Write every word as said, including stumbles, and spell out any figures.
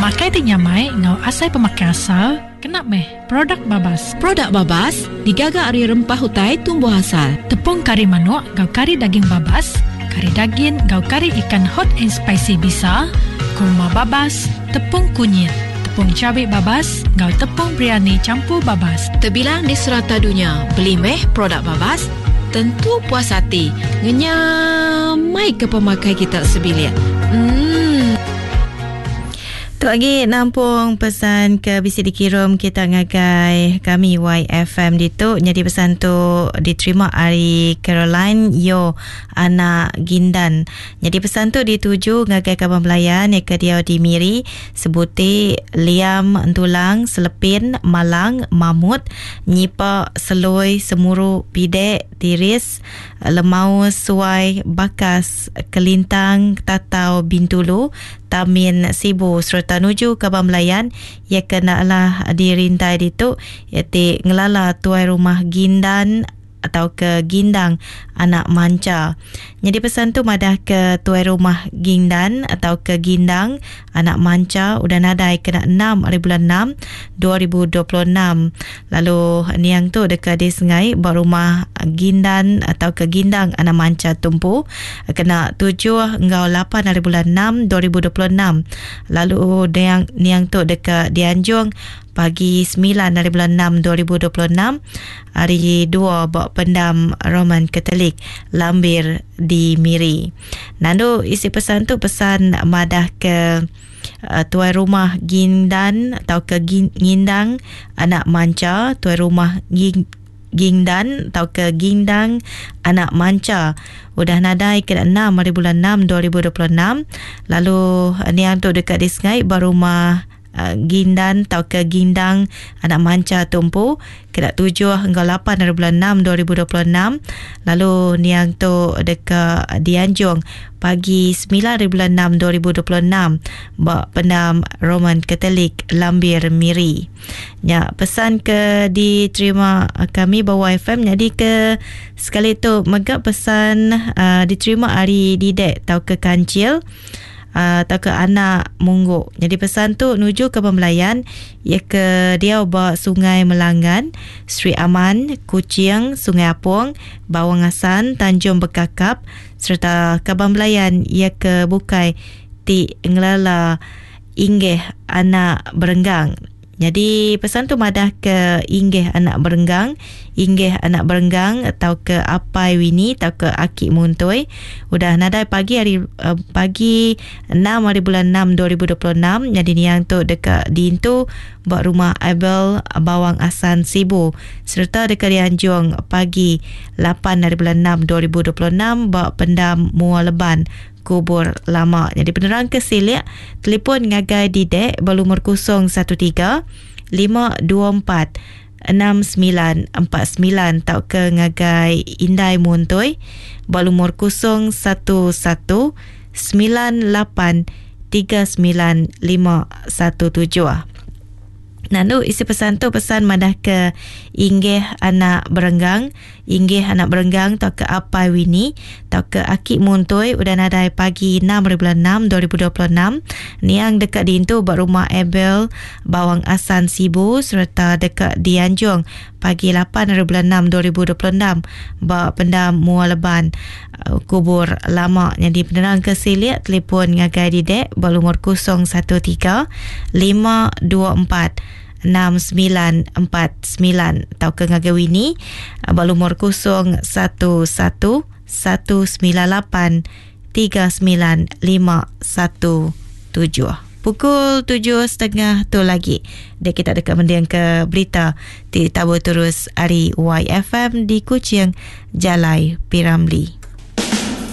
Pemakai ti nyamai enggau asai pemakai asal kena meh produk babas. Produk babas digaga ari rempah utai tumbuh asal. Tepung kari manuk enggau kari daging babas, kari dagin enggau kari ikan hot and spicy bisa, kurma babas, tepung kunyit, tepung cabai babas enggau tepung biryani campur babas. Terbilang di serata dunia, beli meh produk babas, tentu puas hati. Ngenyamai ke pemakai kita sebilik. Hmm. Tu lagi nampung pesan ke bisi dikirim kita ngagai kami Y F M ditu. Jadi pesan tu diterima ari Caroline Yo anak Gindan. Jadi pesan tu dituju ngagai kaban belayan yang ke dia di Miri, Sebuti, Liam, Entulang, Selepin, Malang, Mamut, Nyipa, Seloi, Semuru, Pidek, Tiris, Lemau, Suai, Bakas, Kelintang, Tatau, Bintulu, Tamin, Sibu serta nuju kaban belayan ia kena lah dirintai ditu iaitu ngelala tuai rumah Gindan atau ke Gindang anak Manca. Jadi pesan tu madah ke tuai rumah Gindan atau ke Gindang anak Manca udah nadai kena enam hari bulan enam dua ribu dua puluh enam. Lalu niang tu dekat di Sengai ba rumah Gindan atau ke Gindang anak Manca tumpu kena tujuh enggau lapan hari bulan enam dua ribu dua puluh enam. Lalu niang, niang tu dekat dianjung pagi sembilan hari bulan enam dua ribu dua puluh enam hari dua ba pendam Roman Katolik Lambir di Miri. Nandu isi pesan tu pesan madah ke uh, tuai rumah Gindan atau ke Gin, Ngindang anak Manca, tuai rumah Gin, Gingdan atau ke Gindang anak Manca udah nadai ke enam hari bulan enam dua ribu dua puluh enam. Lalu niang tu dekat di Sengai ba rumah Uh, Gindan atau ke Gindang anak Manca tumpu kena tujuh hingga lapan hari bulan enam dua ribu dua puluh enam. Lalu niang tu dekat dianjung pagi sembilan hari bulan enam dua ribu dua puluh enam ba pendam Roman Katolik Lambir Miri. Ya, pesan ke diterima kami bawa F M jadi ke sekali tu mega pesan uh, diterima hari Didek atau ke Kancil atau ke anak Mungguk. Jadi pesan tu nuju ke pembelayan ia ke dia ba Sungai Melangan, Sri Aman, Kuching, Sungai Apong, Bawang Asan, Tanjung Bekakap serta kaban belayan ia ke Bukai ti ngelala Inggih anak Berenggang. Jadi pesan tu madah ke Inggih anak Berenggang, Inggih anak Berenggang atau ke Apai Wini atau ke Aki Muntoi udah nadai pagi hari uh, pagi enam hari bulan enam dua ribu dua puluh enam. Jadi niang tu dekat diintu buat rumah Abel Bawang Asan Sibu serta dekat dianjung pagi lapan hari bulan enam dua ribu dua puluh enam bak pendam Mua Leban kubur lama. Jadi penerang ke silik telefon ngagai Didek berlumur kosong satu tiga lima dua empat enam sembilan empat sembilan atau ke ngagai Indai Muntoi berlumur kosong satu satu sembilan lapan tiga sembilan lima satu tujuh. Lalu isi pesan tu pesan madah ke Inggih anak Berenggang, Inggih anak Berenggang atau ke Apai Wini atau ke Aki Muntoi udah nadai pagi enam hari bulan enam dua ribu dua puluh enam. Niang dekat diintu buat rumah Abel Bawang Asan Sibu serta dekat dianjung pagi lapan hari bulan enam dua ribu dua puluh enam ba pendam Mua Leban kubur lama. Jadi penerang ke silik telefon ngagai Didek berlumur kosong satu tiga lima dua empat enam sembilan empat sembilan atau ke ngagai Wini berlumur kosong satu satu satu sembilan lapan tiga sembilan lima satu tujuh. Pukul tujuh setengah tu lagi dia kita dekat mendiang ke berita ti tabu terus hari Y F M di Kuching Jalai Piramli.